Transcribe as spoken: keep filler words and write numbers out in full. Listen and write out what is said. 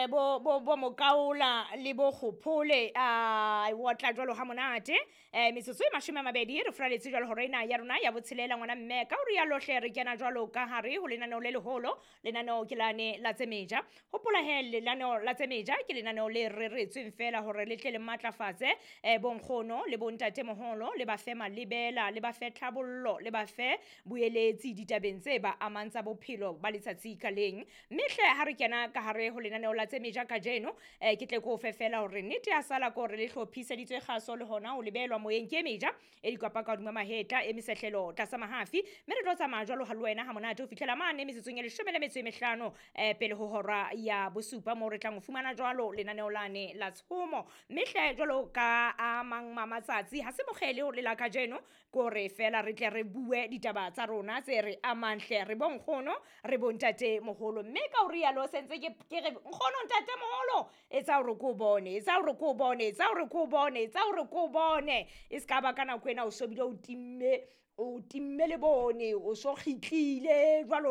bo bo bo mokaola le bo kgophole a otla jwalo ha monate. eh metsotso e mashome a mabedi re furaletse jwalo hore ena ya rona ya botshelela ngwana mme ka hore ya lohle re kena jwalo ka hare ho lenaneo le leholo. Lenaneo ke lane la tsemeja. Hopola he lenaneo la tsemeja ke lenaneo le reretsweng fela hore le tle le matlafatse eh bonkgono le bontatemoholo, le ba fe malebela, le ba fe tlhabollo, le ba fe boeletsi ditabeng tse ba amang tsa bophelo ba letsatsi ka leng. Mme hle ha re kena ka hare ho lenaneo la tsemeja kajeno, eh ke tle ke o fe fela hore nnete ya sala ke hore le hlophiseditswe kgaso le hona ho lebelwa moyeng ke meja e dikwapa ka hodima mahetla e mesehlelo tlasa mahafi. Mme re tlo tsamaya jwalo ha le wena ha monate ho fihlela mane metsotsong e leshome le metso e mehlano eh pele ho hora ya bosupa, moo re tlang ho fumana jwalo lenaneo lane la tshomo. Mme hle jwalo ka a mang ma matsatsi ha se mokgele o le la kajeno, ke hore fela re tle re bue ditaba tsa rona tse re amang hle re bonkgono re bontate moholo. Mme ka ho rialo sentse ke ke re nkgono ntate moholo etsa hore ko bone, etsa hore ko bone, etsa hore ko bone, etsa hore ko bone. E ska ba ka nako ena o so bile o timme, o timme le bone, o so kgitlile jwalo.